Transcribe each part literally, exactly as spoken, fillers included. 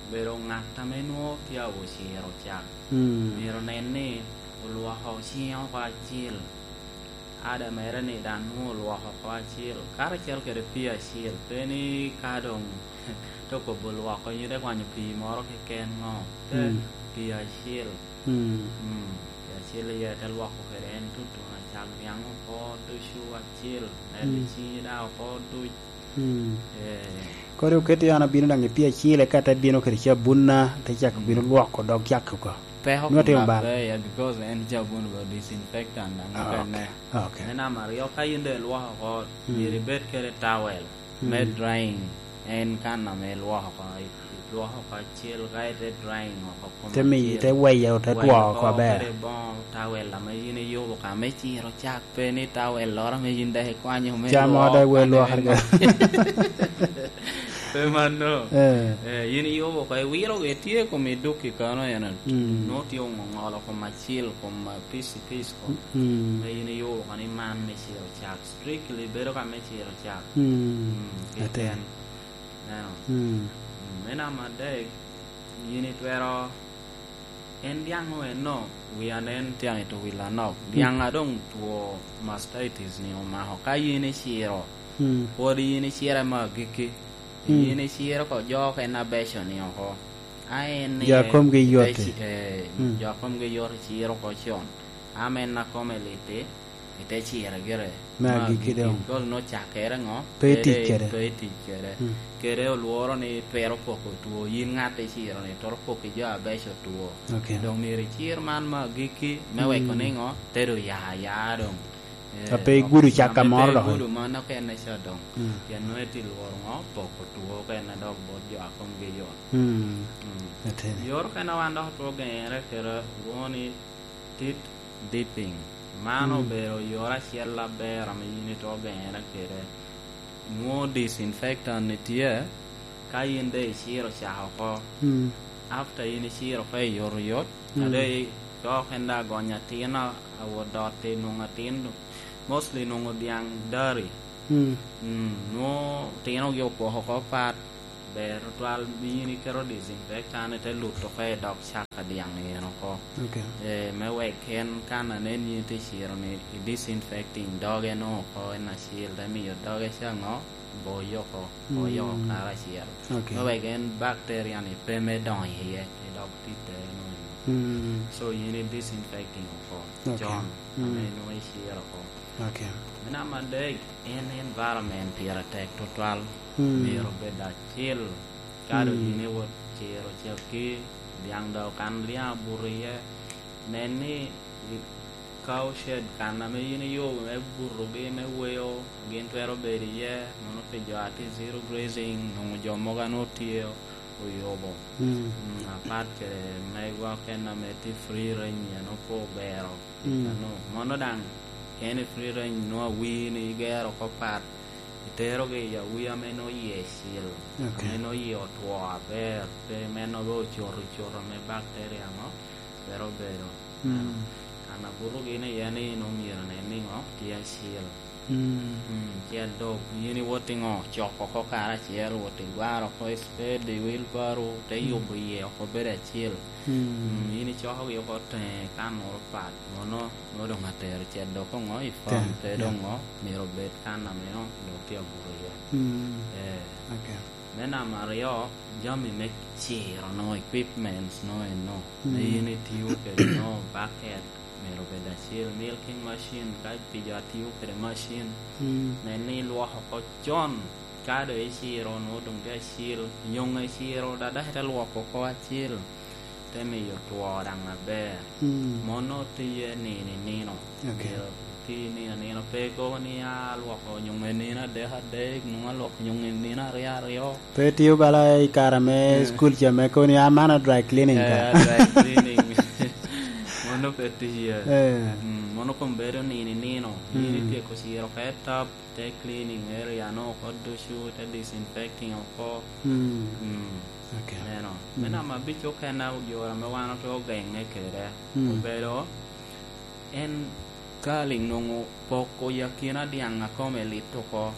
obedo ŋat ame nwoŋo tye awociro cak, mm, myero onen ni olwoko ciŋe oko acil. Ada mere ni daŋ nwoŋo olwoko oko acil, karacel kede pii acil, pe ni ka doŋ te okobo lwoko, yin ite kwanyo pii moro keken ŋo, pe, mm, pii acil. Mm. Mm, pii acil iye te lwoko kede en tutuno, cak niaŋ oko ducu acil, neno, mm, ciŋi daŋ oko duc. Mm. Eh. Kodi oketi an abino daŋ i pii acil, eka te bino kede cabunna, te cako, mm, bino lwoko dog cak oko. Peko nwoŋo timo bal. Pe iye, because en cabun ba disinfectant daŋ, ah, okene. Ok. Me namba aryo, ka yin doŋ ilwoko oko, mm, myero ibed kede towel, mm, me drying. En kan ame ilwoko oko, ilwoko oko acel, ka ite drying oko kome acel. Te miyo, te weyo, te two oko aber. Weyo oko kede boŋo towel ame yin iyubo ka me ciro cak, pe ni towel loro ame yin dok ikwanyo me lwoko. Cam oko dok iwe lwoko. Pe mano. Eh. Eh, yin iyubo oko, iwiro, itye i kom iduk i kano eno. Mm. Nwoŋo tye oŋoŋolo kom acel, kom, ah, piece, piece kom. Mm. Me yin iyubo oko ni man me ciro cak. Strictly bedo ka me ciro cak. Mm. Mm, keken. Neno. Mm. Mm, me namba adek, yin itwero, en dyaŋ eno, wi anen tyaŋ i to wi lanok. Mm. Dyaŋ a doŋ two mastitis ni omako. Ka yin iciro, mm, pwod yin icire me agikki. Mm. Yin iciro oko jo okene abeco-ni oko. A en ni jo a komgi yot-ti. Eh, mm, jo a komgi yot iciro oko con. Ame en a kome lit-ti, ite cire gire. Me agikki doŋ. Kol nwoŋo cakkere ŋo? Pe itic kede. Pe itic kede. Mm. Kede olworo ni twero poko two. Yin ŋat iciro ni twero poko i jo abeco two. Ok. Doŋ myero icir man me agikki me, mm, weko ni ŋo? Te doŋ ya aya doŋ. Eh, a pe igudo cak ka moro dok. Ame pe igudo mano okene ca doŋ. Mm. Pien nwoŋo ite lworo ŋo? Poko two okene dok bot jo a komgi yot. Mm. Mm. Ateni. Yor okene wan dok otwero geŋere kede lwoŋo ni teeth dipping. Man, mm, obedo yor acel aber ame yin itwero geŋere kede. Nwoŋo disinfectant ni tye, ka yin doŋ iciro cak oko. Mm. After yin iciro oko i yot oyot, mm, a doŋ i-, cok en daŋ agonyo atin a-, awot dot i nwoŋo atin, mostly nwoŋo dyaŋ dari. Mm. Mm, nwoŋo otinogi opoko oko pat, ber tutwal, yin iketo disinfectant, ite luto oko i dog cak a dyaŋ eno oko. Ok. Eh, me wek en kan anen yin ite ciro ni i disinfecting doge no oko en acil, te miyo doge ca ŋo? Boyo oko, boyo oko, mm, karacel. Ok. Me wek en bacteria ni pe me donyo iye, i dog titte eno. Mm. So, yin i disinfecting oko, ok, con, mm, ame nwoŋo iciro oko. Ok. Me namba adek, en environment pire tek tutwal. Mm. Myero obed acil. Ka doŋ, mm, yin iwot ciro cakki, dyaŋ daŋ okan dyaŋ abuto iye, nen ni i cow shed kan ame yin iyubo me butogi, me weyo, gin twero bedo iye, mono pi jo a tye zero grazing, nwoŋo jo mogo a nwoŋo tye oyubo. Mm. Mm, apat kede mego okene ame tye free range, en opo obero. Mm. Ano, mono daŋ, ka en i free range, nwoŋo awii ni igero oko pat, iterogi i awii ame nwoŋo yie cil, ok, ame nwoŋo yie otwo aber, pe meno be ocoto, ocoto ame bacteria mo twero bedo. Mm. Ano, kan abuto gin iye ni nwoŋo myero nen ni ŋo tye acil. Mm. Mm, ci adok, yin iwot i ŋo, coko oko karacel, wot igwaro oko i spade, i wheelbarrow, te, mm, yubo iye oko bedo acil. Mm. Mm, yin icokogi oko teŋe kan moro pat, mono, mono doŋ atero cedde oko ŋo i farm, te, pe, yeah, doŋ ŋo, myero obed kan ame doŋ tye abuto iye. Mm. Eh. Ok. Me namba aryo, jami me ciro nongo equipments nongo eno, mm, me yin itiyo kede nongo bucket, myero obed acil, milking machine, ka pi jo atiyo kede machine, mm, nen ni ilwoko oko con, ka doŋ iciro nongo doŋ tye acil, nyoŋ iciro, dada ite lwoko oko acil. Te miyo two daŋ aber. Mm. Mono tiye nino i nino. Ok. Myero iti nino i nino. Pe ikobo ni, "Ah, alwoko nyoŋ i nino adek adek, nwoŋo alwoko nyoŋ i nino aryo aryo." Pe itio bala i kare me, eh, cukul ca me kobo ni, "Ah, man a dry cleaning ka." Eh, a dry cleaning. Mono pe tiye. Eh. Mm, mono koŋ bedo nino i nino. Mm. Yin ityeko ciro oko i tap, te cleaning area no oko ducu, te disinfecting oko. Mm. Mm. Ok. Neno. Mm. Me namba abic okene, yore ame wan otwero geŋe kede, mm, obedo en kaliŋ nwoŋo poko i akina dyaŋ a kome lit oko.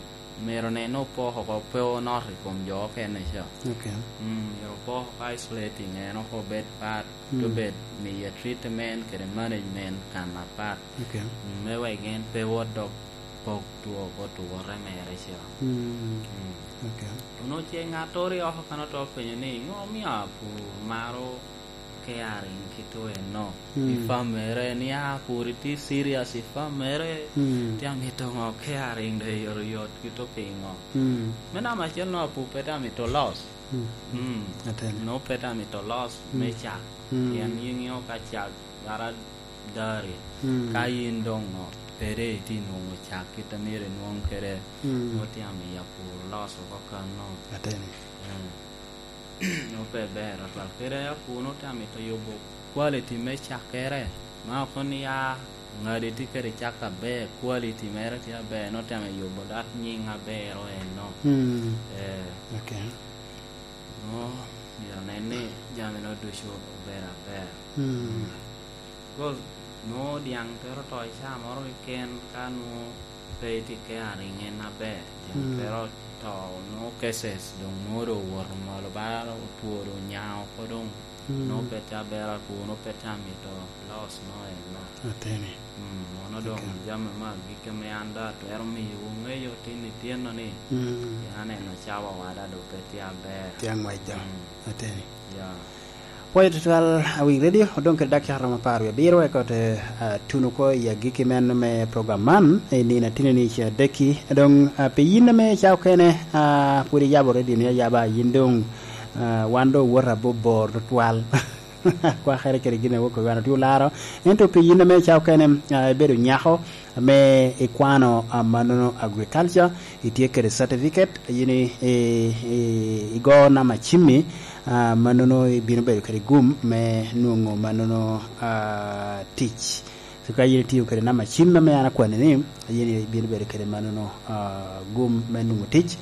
myero nen opoko oko, pe onot i kom jo okene ca. Ok. Mm, myero opoko oko isolating en oko obed pat, mm, te obed miye treatment kede management kan apat. Ok. Mm, me wek en pe wot dok pok two oko tuwote mere ca. Mm. Mm. Ok. Onongo ce ŋattoro i oko kan oto penyo ni, "Ŋo omio apur maro caring kit eno?" Mm. I famere, ni a pur itye serious i famere, mm, tye amito ŋo caring doŋ oyotoyot kit opiŋo? Mm. Me namba acel no, apur pe tye amito loss. Mm. Mm. Atene. No pe tye amito loss, mm, me cak. Mm. Pien iŋeo ka cak gara dari, mm, ka yin doŋ ŋo pede itye nwoŋo cak kit a myero inwoŋ kede, mm, nwoŋo tye amiyo apur loss oko kan no. Atene. Mm. Nwoŋo pe ber atwal. Kede apur nwoŋo tye amito yubo quality me cakkere. Ma ok ni a ŋadi tye kede cak aber, quality mere tye aber, nwoŋo tye amito yubo dok nyiŋ aber eno. Mm. Eh. Ok. Nwoŋo myero onen ni jami nwoŋo ducu ober aber. Mm. Because nwoŋo dyaŋ twero to i caa moro keken ka nwoŋo pe itye caring en aber. Dyaŋ, mm, twero to, nwoŋo cases doŋ nwoŋo doŋ owoto malo, ba otwo doŋ nya oko doŋ. Mm. Nwoŋo pe tye aber apur, nwoŋo pe tye amito loss no eno. Ateni. Mm, mono doŋ, ok, jami me agikki ame an doŋ atwero miyowu ŋeyo tin i tyeno ni, mm, pien aneno cawa wada doŋ pe tye aber. Tye aŋwec doŋ. Mm. Ateni. Ya. Pwoyo tutwal, Awiny Radio, odoŋ kede dakika romo apar wie abiro eka ote, ah, tuno oko i agikki men me program man, i nino ateni ni ca adekki. Doŋ, ah, pi yin ame ca okene, ah, pwod iyabo radio ni ayaba, yin doŋ, ah, wan doŋ owoto abor bor tutwal. Kwakere kede gin a wok wan otye olaro. Ento pi yin ame ca okene, ah, ibedo nyako, ame ikwano, ah, mannono agriculture, itye kede certificate, yin i, i, i, igo namba cimmi, ah, mannono ibino bedo kede gum me nwoŋo mannono, ah, tic. So ka yin itio kede namba cim ame an akwanni ni, yin ibino bedo kede mannono, ah, gum me nwoŋo tic.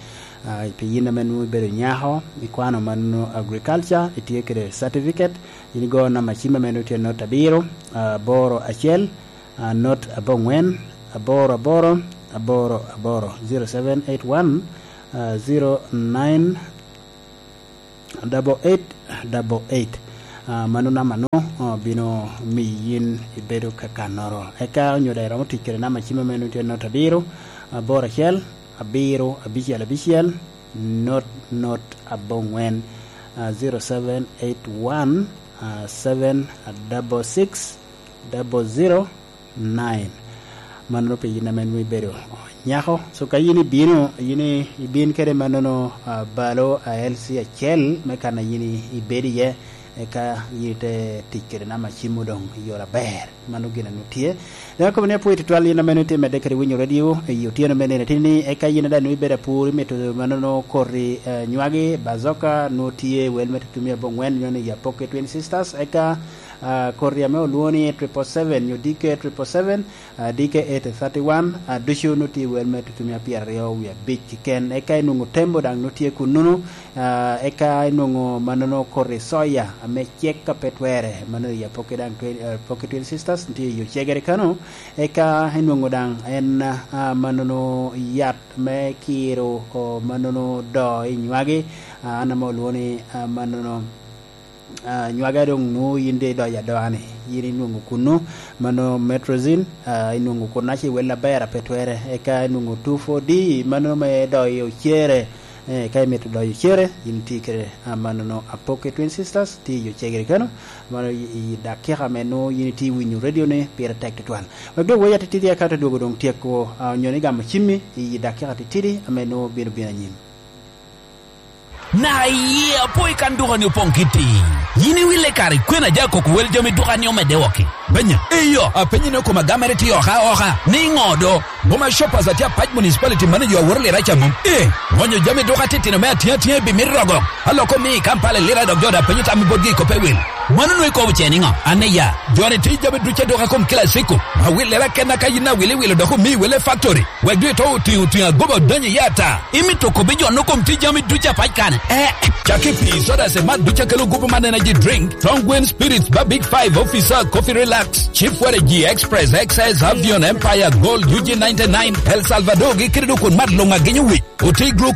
Ah, pi yin ame nwoŋo ibedo nyako, ikwano mannono agriculture, itye kede certificate, yin igo namba cim ame nwoŋo tye not abiro, ah, aboro acel, ah, not abongwen, aboro aboro, aboro aboro, zero seven eight one, ah, zero nine, double eight, double eight. Ah, mano namba no, ah, bino miyo yin ibedo kakannoro. Eka onyo daŋ iromo tic kede namba cim ame nwoŋo tye not abiro, aboro acel, abiro, abicel, abicel, not, not, abongwen, ah, zero seven eight one, ah, seven double six, double zero, nine. Mannono pi yin ame nwoŋo ibedo nyako. So ka yin ibino, yin i-, ibin kede mannono, ah, balo a L C acel me kan a yin i-, ibedo iye, eka yin ite tic kede namba cim doŋ i yore aber. Mano gin a nwoŋo tye. Dok akobo ni apwoyo tutwal yin ame nwoŋo itye medde kede winyo radio i otyeno me nino ateni ni, eka yin daŋ nwoŋo ibedo apur, imito mannono koti, eh, nywagi, bazoka, nwoŋo tye wel me tutumi abongwen, nyo ni Yapoke Twin Sisters, eka ah, koti ame olwoŋo ni triple seven nyo D K triple seven, ah, D K eight thirty-one, ah, ducu nwoŋo tye wel me tutumia pyeraryo wie abic keken. Eka inwoŋo tembo daŋ nwoŋo tye kunnono, ah, eka inwoŋo mannono koti soya ame cek a pe twere, mano i Apoki daŋ twe-, ah, Apoki Twin Sisters, tye i yo cegere kano. Eka inwoŋo daŋ en, ah, mannono yat me kiro, o, mannono doo i nywagi, ah, an ame olwoŋo ni, ah, mannono ah, nywage doŋ nwoŋo yin doŋ idoyo adoa-ni, yin inwoŋo kunnu, mano metrozin, ah, inwoŋo kunnu acel wel aber a pe twere, eka inwoŋo two four D, mano me doyo ocere. Eh, ka imito doyo ocere, yin itye kede, ah, manono Apoki Twin Sisters, tye i Ocegere keno, mano i, i dakika ame nwoŋo yin itye winyo radio-ni pire tek tutwal. Wek doŋ wei atitidi eka te dwogo doŋ tyeko, ah, onyo ni gamo cimmi i dakika titidi ame nwoŋo bino bino anyim. Na iye apo i kan duka-ni opoŋ kitti. Yin iwille kare kwena ja koko wel jami duka-ni omedde woko-ki? Benya, eyo, apenyi ni okoma gamere tye oka oka, ni ŋo do? Boma Shoppers atye apac municipality manager aworo lira ca mom. Eh, ŋonyo jami duka titino me atiŋ atiŋa i bimit rogo. Aloko mi i Kampala i lira dok jo da penyo tam i botgi i koppe wil. Mano nwe kobo ce niŋo? Ane ya, joni tye jami ducu adwoka kom Classico. Awilera kenna ka yin awiliwilo dok omi wele factory. Wek dwe to otiŋo tiŋ agoba odonyo iye ata. Imito kobi jo no kom tye jami ducu apac kane? Eh, caki pi soda se mat ducu akelo gupu man energy drink, Strong Wind Spirits ba Big Five Officer Coffee Relax, Chief Waragi Express X S Avion Empire Gold U G ninety-nine, El Salvador gi kede dok kun mat luŋ agenyo wic. Oti gluko